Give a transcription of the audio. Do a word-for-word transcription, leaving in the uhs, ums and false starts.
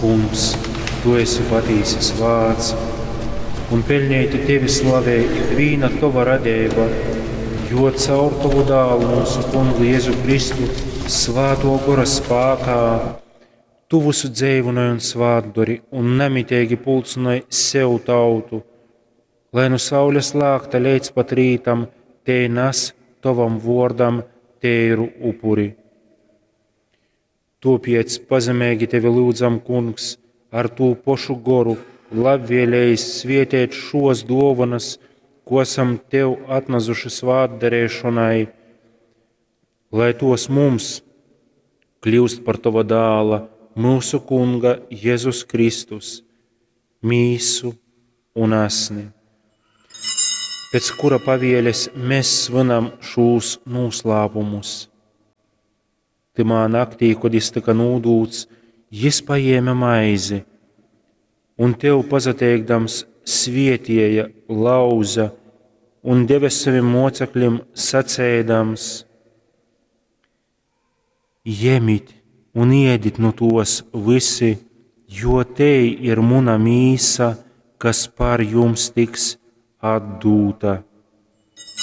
Kungs, tu esi patīsi svāts, un peļneiti tevi slavej ikvīna tova radeiba, jo caur tovu dālu mūsu Kungu Jezu Kristu svātō gora spākā tu vysu dzeivynoj un svātdori un namiteigi pulcynoj sev tautu, lai nu saules lākta leidz pat rītam tei nas tovam vōrdam teiru upuri. Tōpēc pazemeigi tevi lyudzam, Kungs, ar tū pošu goru labvēleigi svieteit šōs dōvonas, ko asam tev atnazuši svātdareišonai, lai tos mums kļūst par tova dāla, mūsu Kunga Jezus Kristus, mīsu un asni, pēc kura pavieles mēs svinam šūs noslēpumus. Tymā naktī, kod jis tyka nūdūts, jis pajēme maizi un tev pasateikdams svietieja, lauza un deve savim moceklim saceidams: Jemit un ēdit nu tos visi, jo tei ir muna mīsa, kas par jums tiks atdūta.